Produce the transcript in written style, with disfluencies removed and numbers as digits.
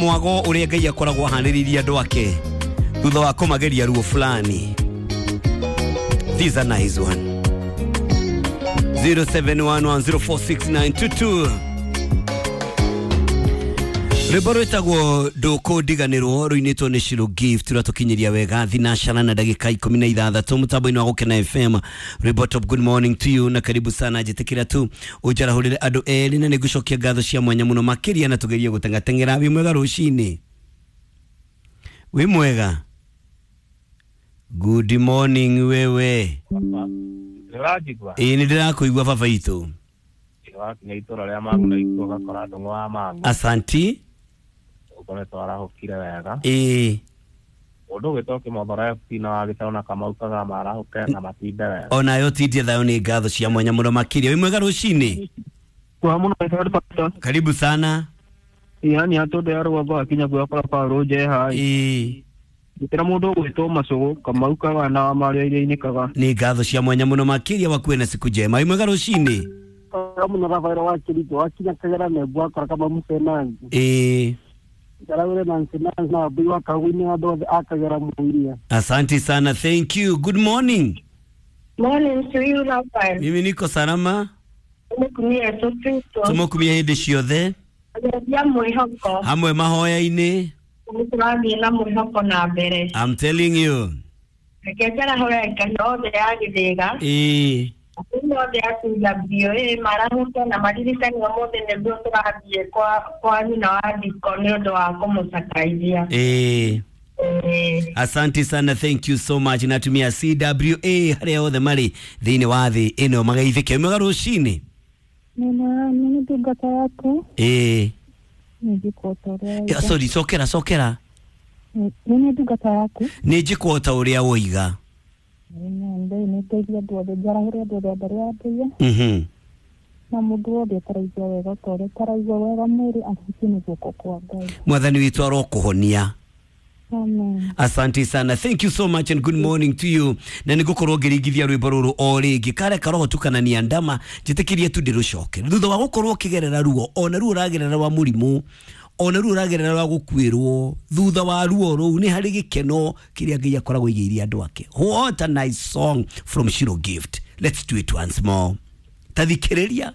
Mwago ũrĩa Ngai akoragwo ahanĩrĩirie andũ ake thutha wa kũmageria ruo fulani. This is a nice one. 0711046922. Rwĩmbo rwĩtagwo ndũkũndiganĩrwo rũinĩtwo nĩ Shiro Gift rwatũkinyĩria wega thinacana na ndagĩka 16 mũtambo-inĩ wa Gũkena FM. Rwĩmbo top, good morning to you na karibu sana. Njĩtĩkĩra tu ũnjarahũrĩre andũ erĩ na nĩngũcokia ngatho cia mwanya mũno makĩria na tũgerie gũteng'ateng'era. Wĩ mwega rũcinĩ? Wĩ mwega? Good morning wewe. Ndĩranjigua? Ĩĩ nĩ ndĩrakũigua baba itũ. Wakinya itũra rĩa Mang'u na ikuo ũgakora ndũng'ũ wa Mang'u. Asanti. Ũkoretwo arahũkire wega. Ĩĩ. Mũndũ ũgĩtwo Kĩmothoro FC na wa Gĩtarũ na Kamau Kagama marahũke na matinde wega. Onayo tindie thayũ nĩ ngatho cia mwanya mũno makĩria. Wĩ mwega rũcinĩ? Kwa muno pastor. Karibu sana. Yani hatondu ya rũgongo akinya gwakora Paũlũ Njeha. Ĩĩ. Gĩtĩra mũndũ ũgwĩtwo Macũgũ Kamau Kaga na wa Maria iria-inĩ Kaga. Nĩ ngatho cia mwanya mũno makĩria wakuwe na siku njema. Wĩ mwega rũcinĩ? Muno Rafaelo wa Kirijo wakinya Kagera Nembu akora kama Musenanzi. Ĩĩ. Njaragũre na Nsenanzi na Wambui wa Kaguinĩ andũ othe a Kagera Mũiria. Asante sana, thank you. Good morning. Morning to you, Raphael. Mimi niko salama. Nĩkumia Yesu Kristo. Tũmũkumia hĩndĩ ciothe Ageria mwĩhoko. hamwe mahoya-inĩ. Nĩ tũrathiĩ na mwĩhoko na mbere. I'm telling you. Reke njarahũre Ngai othe a Gĩthĩga. Ĩĩ. Atumia othe a CWA marahũke na maririkane ũmũthĩ nĩguo tũrathiĩ kwa nyina wa Ndiko nĩ ũndũ wa kũmũcakaithia. Ĩĩ. Ĩĩ. Asante sana, thank you so much. Natumia CWA harĩa othe marĩ thĩinĩ wa thĩ ĩno magaithĩke. Wĩ mwega rũcinĩ? Nina nini ndungata yaku Ĩĩ. nĩnjĩkwo ta ũrĩa Eh, woiga. Sorry, cokera cokera. Nĩ ndungata yaku. Nĩ njĩkwo ta ũrĩa woiga. Ngai nĩ ndeithia andũ othe, njarahũre andũ othe arĩa andeithia Mhm. na mũndũ wothe ũtaraigua wega ta ũrĩa ũtaraigua wega mwĩrĩ ahutie nĩ guoko kwa Ngai. Mwathani witũ arokũhonia. Amen. Asante sana, thank you so much and good morning to you. Na nĩ ngũkorwo ngĩringithia rwĩmbo rũrũ o rĩngĩ kare karoho tukanania ndama njĩtĩkĩrie tu ndĩrũcoke thutha wa gũkorwo ũkĩgerera ruo, ona ruo ũragerera rwa mũrimũ, ona ruo ũragerera rwa gũkuĩrwo, thutha wa ruo rũu nĩ harĩ gĩkeno kĩrĩa Ngai akoragwo aigĩire andũ ake. What a nice song from Shiro Gift. Let's do it once more. Tathikĩrĩria.